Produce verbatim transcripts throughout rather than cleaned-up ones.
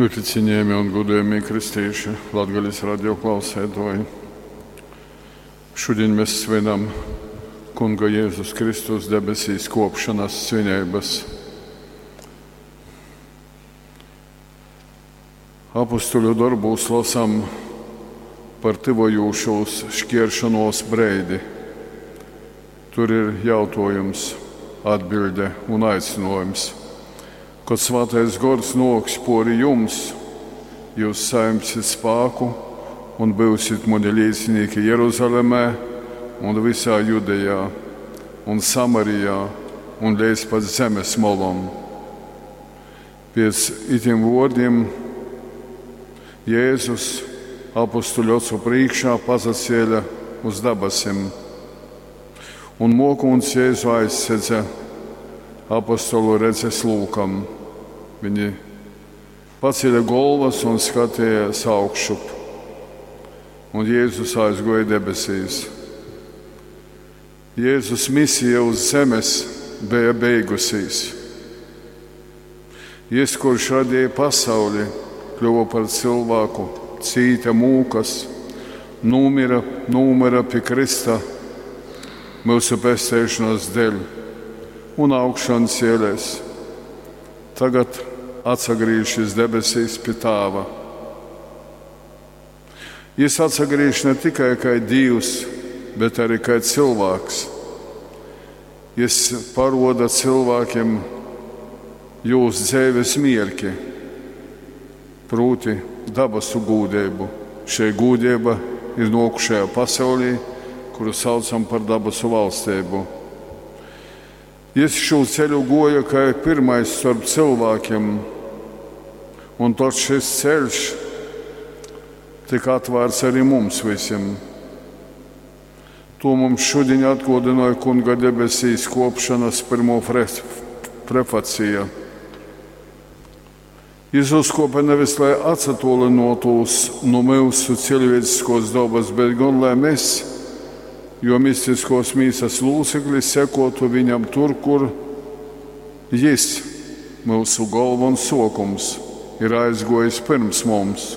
Ļoti cienījamie un godējamie kristīši, Latgales radio klausētoji. Šodien mēs svinam Kunga Jēzus Kristus debesīs kopšanas svinības. Apustuļu darbūs lasam par tyvojūšos šķieršanos breidi. Tur ir jautājums, atbilde un aicinājums. Kad Svētais Gors noks pori jums, jūs saimsit spāku un būsit mani līdzinīki Jeruzalemē un visā Judejā un Samarijā un līdz pat zemes molom. Pēc itim vārdiem Jēzus apustuļu ocu priekšā pazacēla uz dabasim, un mokūns Jēzu aizsedza apostolu redzes lūkam. Viņi pacēla galvas un skatījās augšup, un Jēzus aizgoja debesīs. Jēzus misija uz zemes bija beigusies. Jis, kurš radīja pasauli, kļuva par cilvēku, cīta mūkas, numira, numira pie Krista mūsu pestēšanas dēļ un augšan cielēs. Tagad atsagrīžas debesīs pie Tāva. Jis atsagrīž ne tikai kā Dievs, bet arī kā cilvēks. Jis paroda cilvēkiem jūs dzīves mierki, proti dabasu gūdību. Šī gūdība ir nokušajā pasaulī, kuru saucam par dabasu valstību. Jis šo ceļu goja kā pirmais starp cilvēkiem, un tad šis ceļš tika atvērts arī mums visiem. To mums šodien atgodināja Kunga debesīs kopšanas pirmo prefacija. Jis uzkopa nevis, lai atsatolinotos no mūsu cilvēciskos dabas, bet gan lai mēs, jo mistiskos mīsas lūcekļi sekotu viņam tur, kur jis, mūsu galva un sokums, ir aizgojis pirms mums.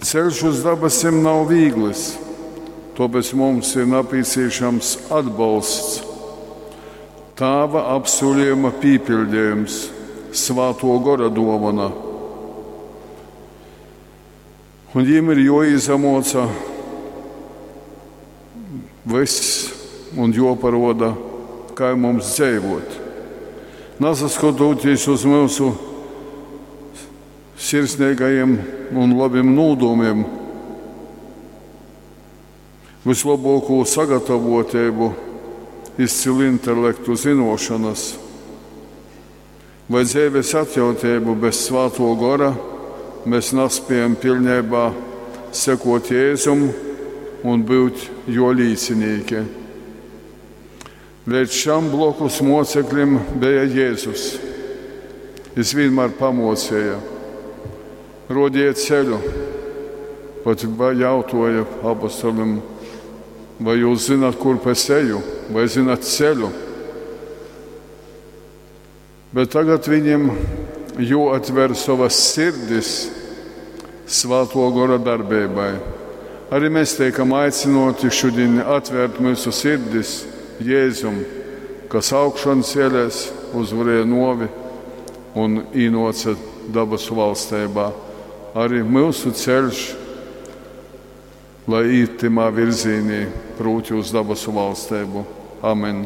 Ceļš uz dabasim nav viegls, tāpēc mums ir nepieciešams atbalsts, Tāva apsolījuma pīpildījums, Svēto gora dāvana. Un viņiem ir jāizamoca viss un jāparoda, kā mums dzīvot. Nesaskatoties uz mūsu sirsnīgajiem un labiem nūdomiem, vislabāko sagatavotību, izcilu intelektu zinošanas vai dzīves atjautību bez Svēto gora mēs nespējam pilnībā sekot Jēzum un būt jo līdzinīki. Līdz šam blokus moceklim bija Jēzus. Jis vienmēr pamocēja, rodīja ceļu, pat jautāja apostolim, vai jūs zināt, kurp es eju, vai zināt ceļu. Bet tagad viņiem jāatver savas sirdis Svēto gora darbībai. Arī mēs tiekam aicinoti šodien atvērt mūsu sirdis Jēzum, kas augšan cēlēs, uzvarēja novi un īnoca dabasu valstībā. Arī mūsu ceļš, lai īt timā virzīnī, proti uz dabasu valstību. Amen.